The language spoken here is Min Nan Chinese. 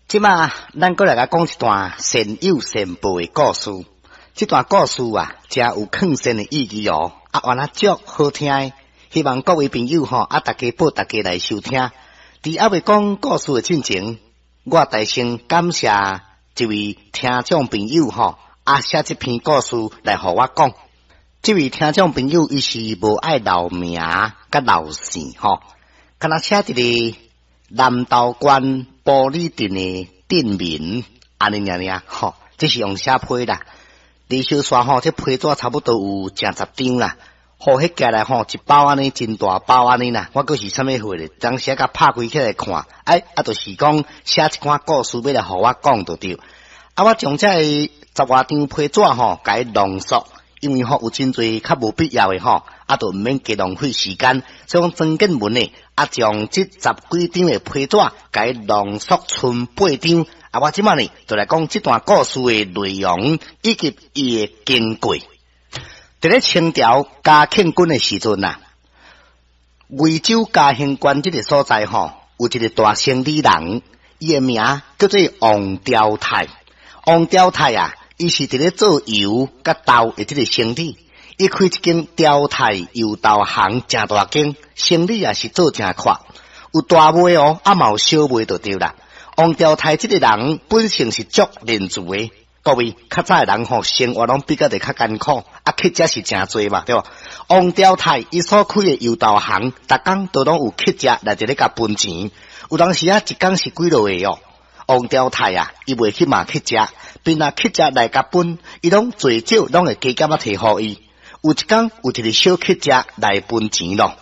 這馬咱閣來共講一段善有善報的故事。這段故事啊，誠有勸善的意義哦。啊，原來足好聽的，希望各位朋友吼啊，大家報大家來收聽。佇猶未講故事的進前，我代先感謝一位聽眾朋友吼，啊寫這篇故事來予我講。這位聽眾朋友伊是無愛留名佮留姓吼，敢若寫一个南投縣埔里鎮的鎮民，按呢爾爾吼，這是用寫批啦。離小山吼，這批紙差不多有成十張啦。吼，彼寄來吼，一包按呢，真大包按呢啦。我閣是啥物貨咧？當時共拍開起來看，哎，啊，就是講寫一寡故事欲來予我講就對。啊，我將這个十外張批紙吼，共伊濃縮，因為吼有真濟較無必要的吼，啊，就毋免加浪費時間。所以講曾建文呢，啊，將這十幾張的批紙，共伊濃縮賰八張。啊，我這馬呢，就來講這段故事的內容以及伊的經過。佇咧清朝嘉慶軍的時陣啊，貴州嘉興縣這个所在吼，有一个大生理人，伊的名叫做王朝泰。王朝泰啊，伊是佇咧做油佮豆的這个生意，伊開一間朝泰油豆行，誠大間，生意也是做誠闊，有大賣哦，啊嘛有小賣就對啦。王朝泰這个人本性是足仁慈的，各位較早的人吼，生活攏比較得較艱苦，啊乞食是誠濟嘛，對無？王朝泰伊所開的油豆行，逐工都攏有乞食來佇咧共分錢，有當時啊，一工是幾落個哦。王朝泰啊，伊袂去罵乞食，邊若乞食來共分，伊攏濟少攏會加減仔提予伊。有一工有一个小乞食來分錢咯。